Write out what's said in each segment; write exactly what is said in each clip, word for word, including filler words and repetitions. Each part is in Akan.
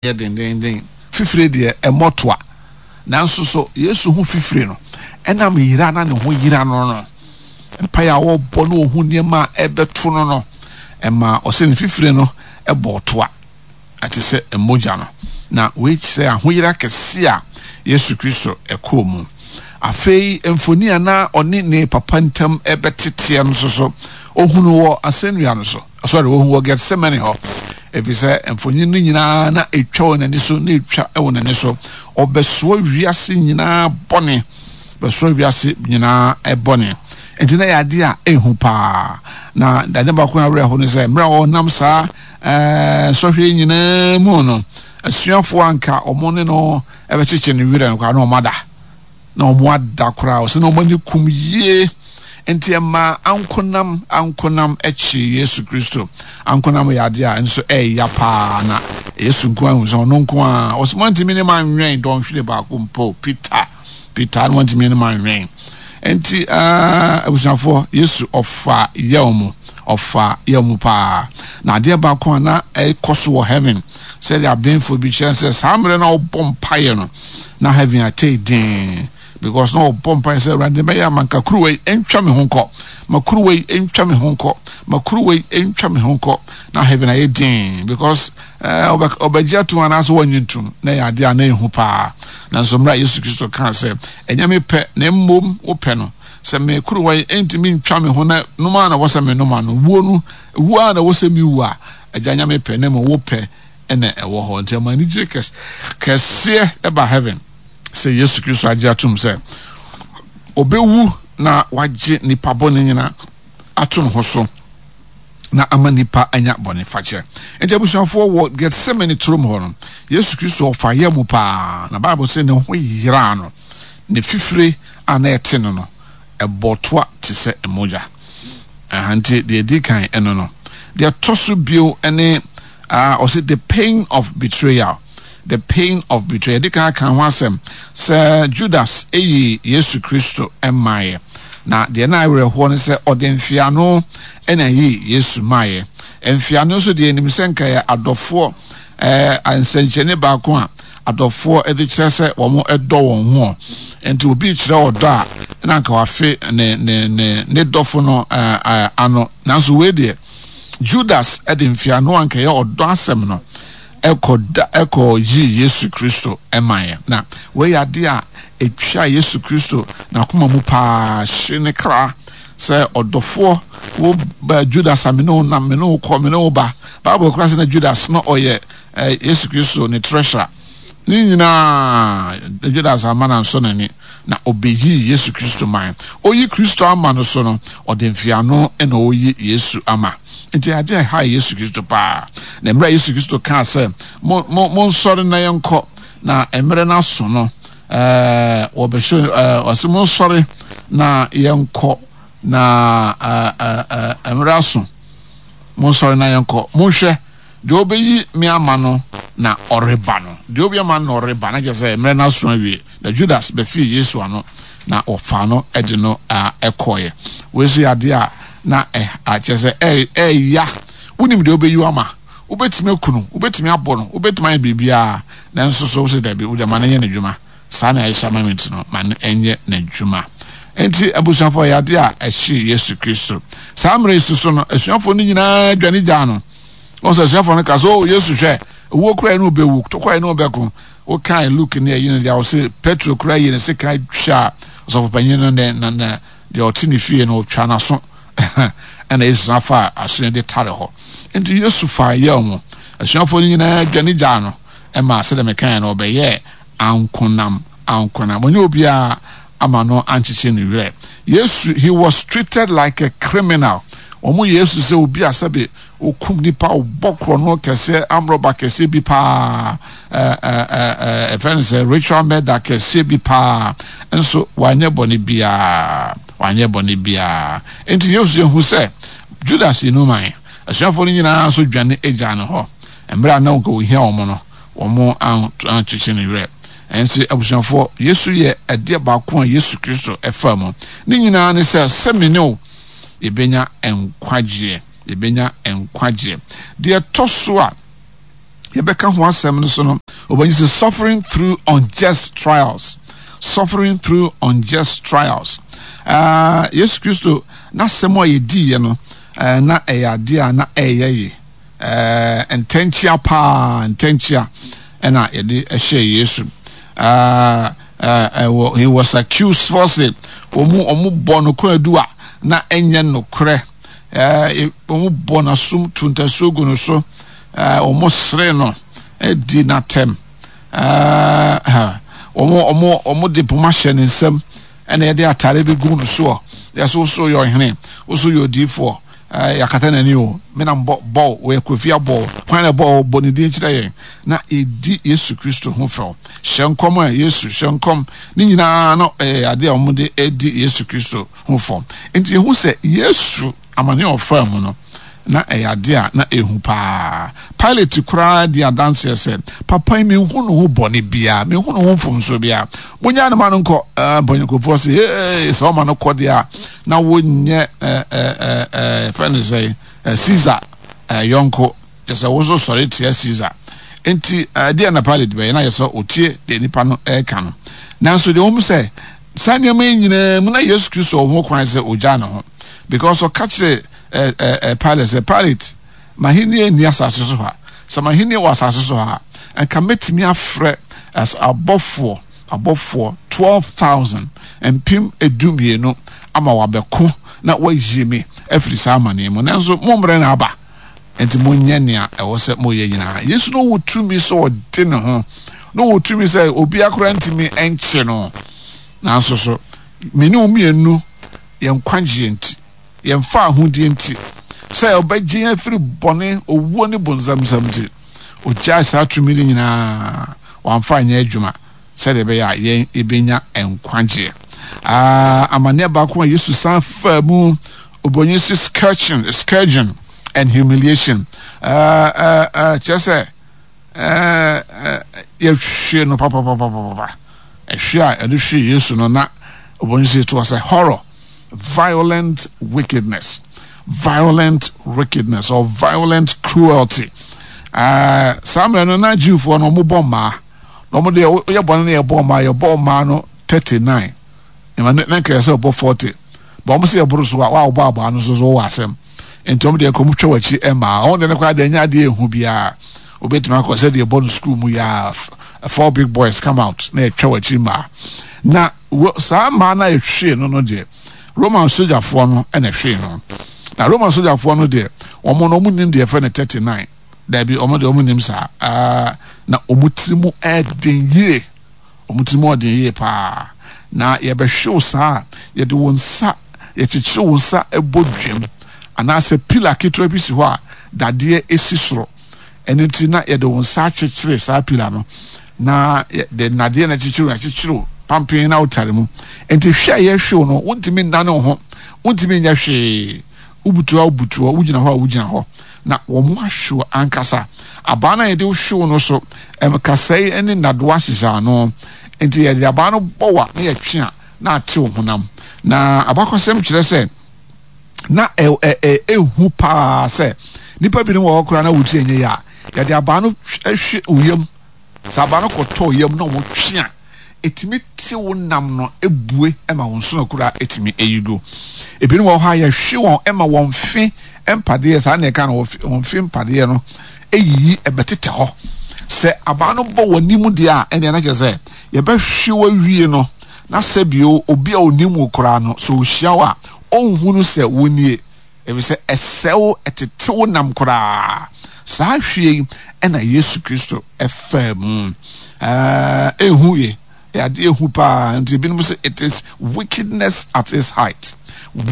Yɛ dendeenden. Fifire deɛ, ɛmmɔ toa. Nanso so Yesu ho fifire no, ɛnam yera na ne ho yera no no, mpaeɛ a ɔrebɔ na ɔhu nneɛma a ɛrebɛto no no, ɛma ɔsɛ ne fifire no bɔɔ toa, ɛte sɛ mogya no. Na wei kyerɛ ahoyera kɛse a Yesu Kristo kɔɔ mu. Afei mfoni a na ɔne ne papa ntam bɛteteɛ no nso so, ɔhunu wɔ asɛnnua no so. Sorry, wɔhu wɔ Gethsemane hɔ, efisɛ mfonyin no nyinaa na etwa wɔ n'ani so, na etwa wɔ n'ani so. Ɔbɛsoa wiase nyinaa bɔne, bɛsoa wiase nyinaa bɔne. Nti na yɛ ade a ehu paa. Na ade baako a awerɛho ne sɛ, mmerɛ a ɔnam saa ɛɛ sɔhwɛ yi nyinaa mu no, asuafoɔ anka wɔn ne no ɛbɛkyekye ne werɛ no koraa na wɔn ada. Na wɔn ada koraa, ɔsɛ na wɔn ani kum yie. Nti ɛmaa ankonam ankonam kyee Yesu Kristo. Ankonam yɛ adeɛ a nso ɛɛya paa, na Yesu nko ara hu sɛ ɔno nko ara. Ɔsɛ moantumi ne manwɛn dɔnhwere baako mpo, Peter, Peter, no moantumi ne manwɛn. Nti uh, abusuafoɔ, Yesu ɔfa yaw mu, ɔfa yaw mu paa. Na adeɛ baako a na ɛkɔ so wɔ heaven, sɛdeɛ abenfoɔ bi kyerɛ sɛ saa mmerɛ na ɔbɔ mpaeɛ no, na heaven atei den. Because na ɔbɔ mpae sɛ, Awurade, bɛyɛ ama nka kuruwa yi ntwa me ho nkɔ, ma kuruwa yi ntwa me ho nkɔ, ma kuruwa yi ntwa me ho nkɔ. Na heaven ayɛ din because ɔbɛgye atom anaasɛ wɔnnye ntom, na ɛyɛ adeɛ a na ɛhu paa. Nanso mmerɛ a Yesu Kristo kaa sɛ, ɛnyɛ me pɛ na mmom wo pɛ no, sɛ me kuruwa yi ntumi ntwa me ho na nom a na ɛwɔ sɛ menom ano, wuo no, wuo a na ɛwɔ sɛ mewu a, Agya, nyɛ me pɛ na mmom wo pɛ na ɛwɔ hɔ. Nti ɛma anigye kɛseɛ ɛba heaven sɛ Yesu Kristo agye atom sɛ ɔbɛwu na wagye nipa bɔne nyina ato ne ho so na ama nipa anya bɔne fakyɛ. Nti abusuafoɔ, wɔ Gethsemane turom hɔ no, Yesu Kristo ɔfa yɛ mu paa, na Bible sɛ ne ho yeraa no, ne fifire a na ɛte no no, ɛbɔ toa te sɛ mogya. Aha nti deɛ ɛdi kan ɛno no. Deɛ ɛtɔ so bio ne uh, ɔsɛ the pain of betrayal. The pain of betrayal. Yɛde kan aka ho asɛm sɛ Judas eyi Yesu Kristo mmaeɛ. Na deɛ na awerɛhoɔ ne sɛ ɔde mfeano na eyi Yesu maeɛ. Mfeano nso deɛ nim sɛ nka yɛ adɔfoɔ ɛɛ nsɛnkyerɛnne baako a adɔfoɔ de kyerɛ sɛ wɔn dɔ wɔn ho. Nti obi kyerɛ ɔdɔ a, na nka wafe ne ne ne ne dɔfo no ɛɛ ano. Nanso wei deɛ, Judas de mfeano a nka ɛyɛ ɔdɔ asɛm no ɛkɔ da ɛkɔ yi Yesu Kristo ɛmaeɛ. Na wei yɛ adeɛ a ɛtwa Yesu Kristo n'akoma mu paa, hye ne kra sɛ ɔdɔfoɔ wo ba Judas a me ne wo nam, me ne wo kɔ, me ne wo ba. Bible koraa sɛ na Judas na ɔyɛ eh, Yesu Kristo ne treasurer. Ne nyinaa Judas ama no ansɔ n'ani na ɔbɛyii Yesu Kristo man. Ɔyi Kristo ama no so no, ɔde mfeano na ɔyi Yesu ama. Nti adeɛ a ɛha Yesu Kristo paa. Na mmerɛ a Yesu Kristo kaa sɛ, mo, mo, monsɔre na yɛnkɔ, na mmerɛ no aso no, ɛɛ, wɔbɛhyɛ, ɛɛ, ɔse monsɔre na yɛnkɔ, na ɛɛ, ɛɛ, mmerɛ aso, monsɔre na yɛnkɔ. Monhwɛ, deɛ ɔbɛyi me ama no na ɔreba no. Deɛ ɔbɛyi ama no na ɔreba, na kyerɛ sɛ mmerɛ no aso awie. Na Judas bɛfii Yesu ano, na wɔfaa no de no kɔeɛ. Wei nso yɛ adeɛ a na kyerɛ sɛ ɛɛya. Wonim deɛ ɔbɛyi wo ama. Wobɛtumi aku no, wobɛtumi abɔ no, wobɛtumi ayɛ biribiara, nanso so wose dabi, wode ma no nyɛ n'adwuma. Saa na ɛhyɛ ama me nti no, ma no nyɛ n'adwuma. Enti abusuafoɔ, ɛyɛ adeɛ a ɛhyee Yesu Kristo. Saa mmerɛ yi so no, asuafoɔ no nyinaa dwane gyaa no. Wɔn sɛ asuafoɔ no ka sɛ, oh, Yesu hwɛ, owuo koraa ne wobɛwu, tokwae ne wobɛko. Wokae Luke ne ayi no deɛ, ɔse Petro koraa yi ne sekan twa ɔsɔfopanyin no ne na na deɛ ɔte ne fie no, ɔtwa n'aso. Ɛna Yesu san faa aso de tare hɔ. Enti Yesu faa yaw mu. Asuafoɔ no nyinaa dwane gyaa no ɛma sɛdeɛ mekaeɛ no, ɔbɛyɛɛ ankonam ankonam. Ɔnyɛ obiara ama no ankyekyere ne werɛ. Yesu, he was treated like a criminal. Wɔn Yesu sɛ obi a sɛbe okum nipa, ɔbɔ korɔno kɛseɛ, amrɔba kɛseɛ bi paa, ɛɛ ɛɛ ɛfɛ no sɛ ritual murder kɛseɛ bi paa, nso wanyɛ bɔne biara, wanyɛ bɔne biara. Nti Yesu ehu sɛ Judas yi no man, asuafoɔ no nyinaa nso dwane agya no hɔ. Mmerɛ a na nka ohia wɔn no, wɔn ankyekye ne werɛ. Ɛnso abusuafoɔ, Yesu yɛ ɛdeɛ baako a Yesu Kristo ɛfaa mu. Ne nyinaa ne sɛ, sɛ me ne wo yɛbɛnya nkwagyeɛ, yɛbɛnya nkwagyeɛ. Deɛ ɛtɔ so a yɛbɛka ho asɛm no so no, wɔbɛnyi sɛ suffering through unjust trials. Suffering through unjust trials. Uh, Yesu Kristo n'asɛm a yɛdiiɛ no, uh, na ɛyɛ adeɛ a na ɛyɛ ye. Uh, ntɛnkyea paa, ntɛnkyea ɛna yɛde ɛhyɛ Yesu. Uh, uh, uh, he was accused falsely. Wɔn wɔn bɔ no kwaadu a na ɛnyɛ nokorɛ. Uh, wɔn bɔ n'asom tu ntasuo gu no so. Uh, wɔn sere no, di n'atɛm. Uh, wɔn wɔn wɔn de poma hyɛ ne nsam, ɛna yɛde atare bi gu no soɔ. Yɛsɛ woso yɛ ɔhene, woso yɛ odiifoɔ. Uh, yɛakata n'ani o, me na mbɔ bɔɔl, wɔyɛ kofi abɔɔl, kwan na bɔɔl bɔ ne din kyerɛ yɛn na yɛdi Yesu Kristo ho fɛw. Hyɛ nkɔm a Yesu hyɛ nkɔm ne nyinaa no ɛyɛ adeɛ a wɔde di Yesu Kristo ho fɛw. Nti yɛhu sɛ Yesu amane a ɔfaa mu no, na ɛyɛ adeɛ a na ɛhu paa. Pilate koraa di adanseɛ sɛ, papa yi menhu ne ho bɔne biara, menhu ne ho mfomsoɔ biara. Monyaa ne ma no nkɔ. Mpanyinkurofoɔ sɛ, ee, sɛ ɔma no kɔ deɛ a, na wonyɛ fɛn no sɛ Caesar yɔnko, kyɛ sɛ wo nso sɔre tia Caesar. Nti ɛdeɛ na Pilate bɛyɛ na yɛ sɛ ɔtie deɛ nipa no ɛreka no. Nanso deɛ wɔn sɛ, saa nneɛma yi nyinaa mu na Yesu Kristo wɔ ho kwan sɛ ɔgyaa ne ho, because ɔka kyerɛ eh, eh, eh, Pilate sɛ, Pilate, m'ahenni nni asase so ha. Sɛ m'ahenni wɔ asase so ha a, nka mɛtumi afrɛ abɔfoɔ, abɔfoɔ twelve thousand, mpem edu mmienu, ama wabɛko na wayi me afiri saa amaneɛ mu. Nanso mo mmerɛ na aba, nti monyɛ nea ɛwɔ sɛ moyɛ nyinaa. Yesu no wɔ tumi sɛ ɔde ne ho, na ɔwɔ tumi sɛ obiara koraa ntumi nkye no. Nanso so, me ne wo mmienu, yɛn nkwagyeɛ nti, yɛn fawohodie nti, sɛ ɔbɛgye yɛn afiri bɔne, owuo ne bonsam nsam nti, ɔgyae saa tumi no nyinaa, wamfa anyɛ adwuma sɛdeɛ ɛbɛyɛ a yɛn yɛbɛnya nkwagyeɛ. Ah, amanneɛ baako a Yesu san faa mu, obonyi si scourging, scourging and humiliation. Ah, ah, ah, kyerɛ sɛ, eh, eh, yɛhwe no papapapapapa. Ɛhwe a yɛde hwee Yesu no, na obonyi si it was a horror. Violent wickedness, violent wickedness or violent cruelty. Uh, saa mmerɛ no na Jewfoɔ no wɔn bɔ mmaa, na wɔn deɛ wɔyɛ bɔne no yɛ bɔ mmaa, yɛbɔ mmaa no thirty nine, ɛma ne nka yɛ sɛ ɔbɔ forty, ba wɔn sɛ yɛboro so a wɔa wɔbɔ abaa no nso so wɔ asɛm, nti wɔn deɛ nkɔm twa wɔn akyi mmaa, wɔn deɛ no koraa deɛ nyɛ adeɛ ehu biara, obetumi akɔ sɛ deɛ ɛbɔ no sukuu mu yɛ four big boys come out na yɛtwa wɔn akyi mmaa. Na saa mmaa no a yɛhwee no no deɛ, Roman sogyafoɔ no na ɛhwee no. Na Roman sogyafoɔ no deɛ, wɔn no wɔn nim deɛ yɛfrɛ no thirty nine. Daabi, wɔn deɛ wɔn nim saa. Uh, na wɔn tiri mu ɛden yie. Wɔn tiri mu ɔden yie paa. Na yɛbɛhwe wo saa a, yɛde wo nsa, yɛkyekyere wo nsa bɔ dwam, anaasɛ pila ketewa bi si hɔ a dadeɛ si soro. Ɛno nti na yɛde wo nsa akyekyere saa pila no, na yɛde nnadeɛ na akyekyere wo, akyekyere wo pampen na wotare mu. Nti hwɛ a yɛhwe wo no, wontumi nnane wo ho, wontumi nyɛ hwee. Wobutu hɔ a wobutu hɔ, wogyina hɔ a wogyina hɔ. Na wɔn ahwe wo ankasa. Abaa no a yɛde hwe wo no so, kasɛe ne nnadewa hyehyɛ ano. Nti yɛde abaa no bɔ wo a na yɛtwe a na ate wo honam. Na abakɔsɛm kyerɛ sɛ, na ɛhu paa sɛ nnipa binom wɔ hɔ koraa na wotiri ɛnyɛ yɛ a, yɛde abaa no hwe wo yam. Sɛ abaa no kɔtɔ wo yam na wɔtwe a, ɛtumi te wo nam no bue ma wo nsono koraa ɛtumi ɛyi gu. Ebinom wɔ hɔ a yɛhwe wɔn ma wɔn fe mpadeɛ, saa na ɛka no, wɔn fe mpadeɛ no ɛyiyi ɛbɛtetɛ hɔ. Sɛ abaa no bɔ wɔn anim deɛ a, ɛnneɛ na kyerɛ sɛ yɛbɛhwe wo awie no, na sɛ bio obi a ɔnim wo koraa no, sɛ ɔhyia wo a, ɔnhunu sɛ wo nie, efisɛ ɛsɛe wo, ɛtete wo nam koraa. Saa hwie yi na Yesu Kristo faa mu. Ɛhu ye, ɛyɛ adeɛ ɛhu paa. Nti ebinom sɛ it is wickedness at its height.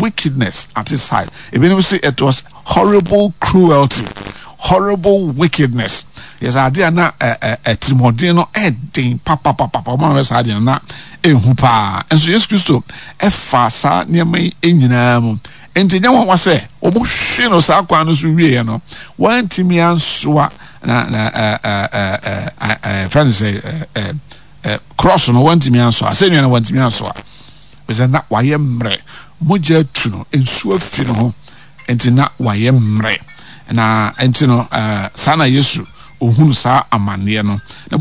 Wickedness at its height. Ebinom sɛ it was horrible cruelty, horrible wickedness. Yɛ sɛ adeɛ a na ɛtirimɔden no ɛden papapapa. Wɔn a wɔyɛ saa adeɛ no na ɛhu paa. Nso Yesu Kristo ɛfaa saa nneɛma yi nyinaa mu. Enti ɛnyɛ nwanwa sɛ wɔhwee no saa kwan no so wieeɛ no, wantumi ansoa na na ɛɛ ɛɛ ɛɛ fɛn no sɛ ɛɛ ɛɛ cross no, wantumi ansoa asɛnnua no, wantumi ansoa, ɛsɛ na wayɛ mmerɛ, mogya atu no, nsuo afi ne ho, nti na wayɛ mmerɛ. Na nti no ɛɛ saa na Yesu ohunu saa amanneɛ no na.